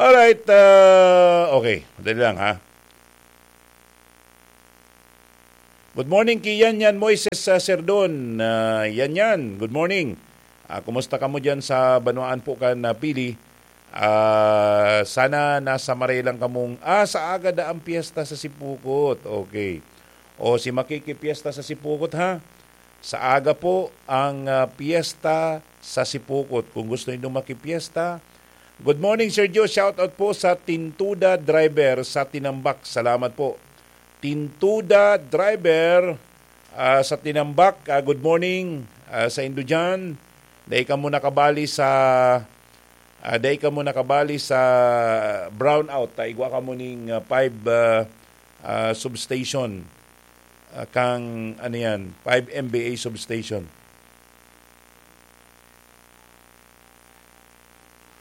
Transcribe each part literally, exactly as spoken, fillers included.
Alright, ah, okay. Madali lang, ha? Good morning kay Yan Yan Moises, ah, Serdon. Ah, Yan Yan, good morning. Ah, kumusta kamo diyan sa banwaan po kan, ah, Pili? Ah, sana nasa maray lang kamong, ah, sa aga da ang piyesta sa Sipukot. Okay. O, si makikipiyesta sa Sipukot, ha? Sa aga po ang, ah, piyesta sa Sipukot. Kung gusto niyo makipiyesta, good morning, Sir Joe. Shout out po sa Tintuda Driver sa Tinambak. Salamat po. Tintuda Driver, ah, sa Tinambak. Ah, good morning, ah, sa indo diyan. Dai kamo nakabali sa, ah, dai kamo nakabali sa brownout. Ta igwa kamo ning, ah, five, ah, ah, substation. Ah, kang, ano yan, five M V A substation.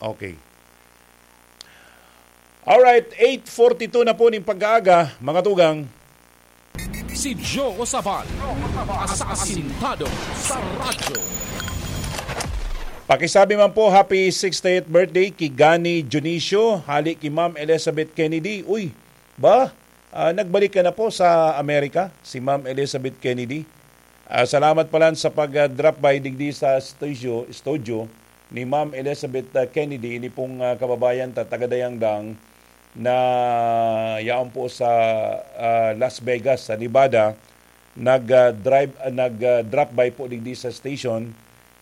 Okay. Alright, eight forty-two na po ning pag-aaga, mga tugang. Si Joe Sabal, asasintado sa radyo. Pakisabi man po, happy sixtieth birthday ki Gani Dionisio, hali ki Ma'am Elizabeth Kennedy. Uy, ba? Ah, nagbalik ka na po sa Amerika, si Ma'am Elizabeth Kennedy. Ah, salamat pala sa pag-drop by digdi sa studio, studio ni Ma'am Elizabeth, ah, Kennedy. Ini pong, ah, kababayan ta, taga Dayangdang na yaon po sa, ah, Las Vegas, sa Nevada. Nag, ah, drive, ah, nag, ah, drop by po digdi sa station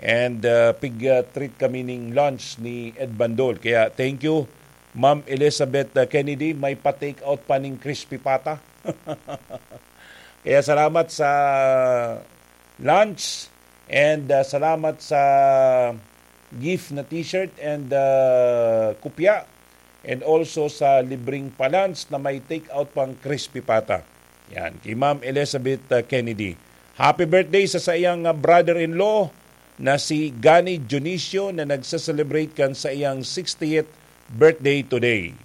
and, ah, pig, ah, treat kami ning lunch ni Ed Bandol. Kaya thank you, Ma'am Elizabeth, ah, Kennedy. May pa-take out pa ning crispy pata. Kaya salamat sa lunch and, ah, salamat sa gift na t-shirt and, ah, kopya, and also sa libreng pa-lunch na may take out pang crispy pata. Yan, kay Ma'am Elizabeth, ah, Kennedy. Happy birthday sa saiyang, ah, brother-in-law na si Gani Dionisio na nagse-celebrate kan saiyang sixtieth birthday today.